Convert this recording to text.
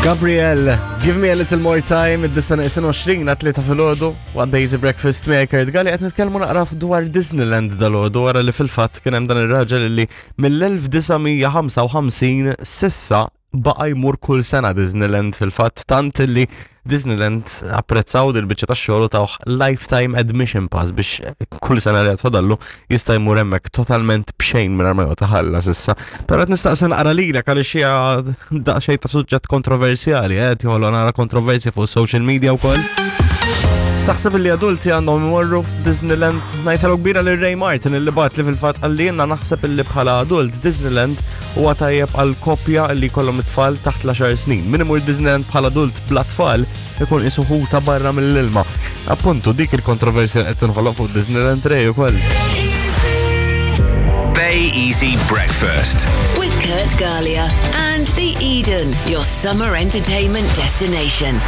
Gabriel, give me a little more time, id-disa neqsin 20 għat ta' filgħodu, waqt Bazy Breakfast miegħi Kurt Galli qed nitkellmu naqra dwar Disneyland dal-għodu wara li fil-fatt kien hemm dan ir-raġel li mill-1955 sissa baqa' jmur kull sena Disneyland fil-fatt tant li Disneyland apprezzaw dil biċċa tax-xogħol u tawh lifetime admission pass biex kull sena li għadfadallu jista' jmur hemmhekk totalment b'xejn mingħajr ma joqgħod iħallas issa. Però qed nistaqsi naqra lilek għaliex hija daqsxejn ta' suġġett kontroversjali, eh, qed joħloq nara kontroversja fuq social media wkoll. Taħseb li adulti għandhom imorru Disneyland? Ngħidħalu kbira lil Ray Martin illi bat li fil-fatt qalli jiena naħseb illi bħala adult Disneyland huwa tajjeb għal koppja li jkollhom it-tfal taħt l-10 snin. Min imur Disneyland bħala adult bla tfal ikun qisu ħuta barra mill-ilma. Appuntu dik il-kontroversja qed tinħoloq fuq Disneyland Ray ukoll. Bay Easy Breakfast. With Kurt Galea and The Eden, your summer entertainment destination.